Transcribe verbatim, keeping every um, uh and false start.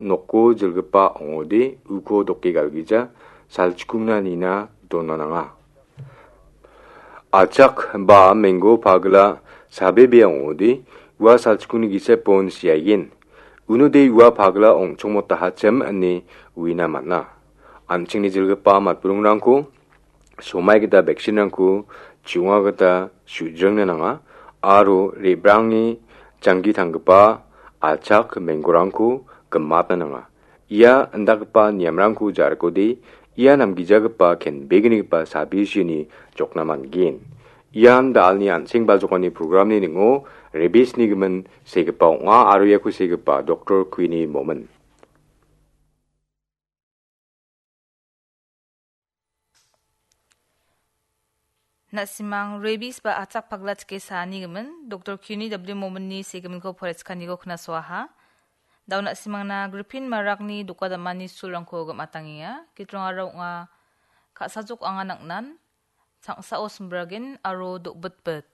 noko jilgipa ong·ode uko doke galgija salchikungna nina dona nanga. Achak ba menggo pagla sabebea ong·ode ua salchikungni gisepon siaien. Unode ua pagla ong·chongmotahachim ine uina man·a. An·chingni jilgipa matburingrangko somai gita vaccine-rangko chu·onga gita su·jringna nanga aro re·brangni janggi tanggipa achak menggorangko gimatna nanga. Ia indakgipa niamrangko jarikode ia namgijagipa kenbegnigipa sabisini jokna man·gen. Ian da·alni an·seng baljokani programni ning·o rebisni gimin segipa ong·a aro iako segipa doktor Queenie Momin. Na·simang rabies ba achak pagla chike saanigimin doktor Queenie W Mominni segiminko poretskaniko knasoaha. Dao na·simangna gripin marakni doka damani sulrangko gim·atangenga. Gitrongara ong·a ka·sajok anga nang·nan, sangsao simbragen aro do·bitbit.